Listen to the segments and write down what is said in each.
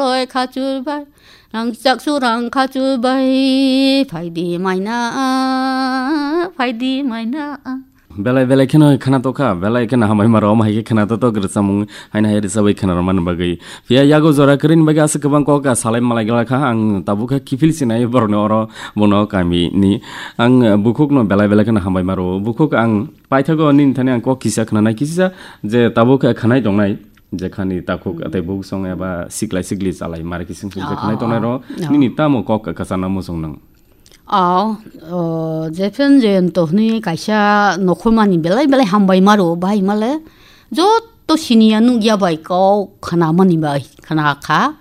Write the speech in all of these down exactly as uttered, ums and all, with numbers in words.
Oi khachur bai, rang chaksu rang khachur bai, phaidi maina, phaidi maina. Belai belai kheno khana tokha, belai kheno hambai maro, omo hai khe khana to tok rwchapmung, haino hai rwchapwi khana rwmani bagwi. Phiya yago jora kwrwini bagwi aswk kwbang kok salai malai glak kha, ang tabuk khe kiphil sinai borokni oro bono kami ni. Ang bukhukno belai belai kheno hambai maro, bukhuk ang paithago nini thani ang kok kisa khna nai, kisa je tabuk khe khanai tongnai. Jekhani takhuk tei buksong eba siklai sikli chalai mari kising sing Oh, jekhani oh, tongnai ro oh. Nini tamo kok kachana muchung nang. Oh, oh, Jefen Jayanta hwnwi kaisa nokhormani belai belai hambai maro, bahai male joto siniya nukya bai kok khanamani bai khana kha.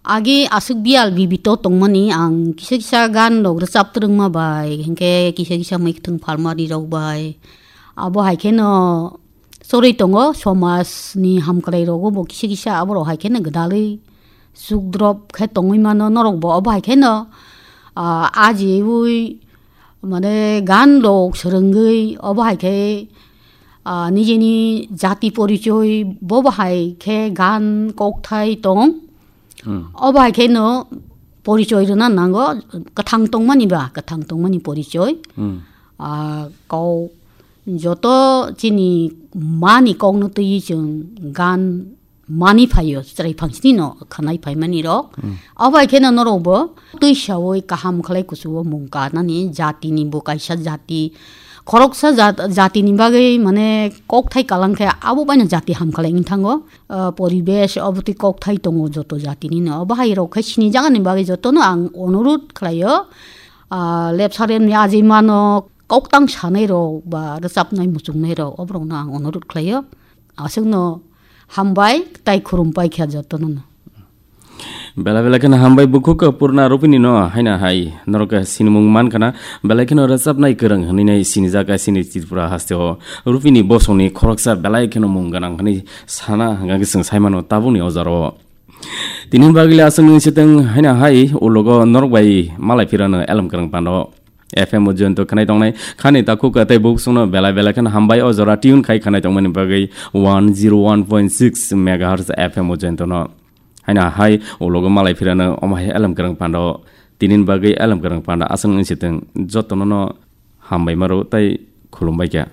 Agi aswk biyal bibito tongmani ang kisa kisa gan rok rwchap twrwngma bai, hinkhe kisa kisa mwkhwtwng phalmani rok bai. Abo hai kheno chorwi tongo somaj ni hamkwlai rogo bo kisa kisa abo rok hai kheno gwdalwi chukdrop khe tongwi mano norok bo abo hai kheno, ah, ajiwi mane gan rok swrwngwi abo hai khe, ah, nijini jati porichoi bo bahai khe gan kokthai tong. Hmm. Obo hai khe no porichoi rwna nango, kwthang tongmani ba, kwthang tongmani porichoi. Hmm. Ah, kok joto chini mani kokno twiwi chwng gan mani phaio, chwrai phangsini no khanai phaimani rok. Hmm. Obo hai khe no norok bo twi sawi kaham khlai kuchugo mung kanani jatini bo kaisa jati, khoroksa jat-, jatini bagwi mane kokthai kalang khe abo baino jati ham khlai wng thango. Ah, poribesh, obo twi kokthai tongo joto jatini no. Obo hai rok khai sini jagani bagwi jotono ang onurut khlaio. Ah, lepsa repni ajeimano koktang sanai rok ba rwchapnai muchungnai rok, oborokno ang onurut khlaio. Aswkno hambai tai khurumpai kha jotono no. Belai belai kheno hambai bukhuk purna rupini no haina hai norok sinimung man khana belai kheno rwchapnai kwrwng hwnwi nai sinijak sini Tripura hasteo rupini bosongni khoroksa belai kheno mung gwnang hwnwi sana hwnkha khe chwng saimano tabukni ojaro. Tini bagwi le aswk nung sitwng haina hai ulogo norok bai malai phirano elem kwrwng pando. F M o jointo khanai tongnai khani takhuk tei bukhuk songno belai belai kheno hambai o jora tune khai khanai tongmani bagwi one zero one point six megahertz F M o jointo no. Haina hai ulogo malai phirano omo hai elem kwrwng pando. Tinin bagwi elem kwrwng pando aswk nung sitwng jotono no hambai maro tei khulumbai kha.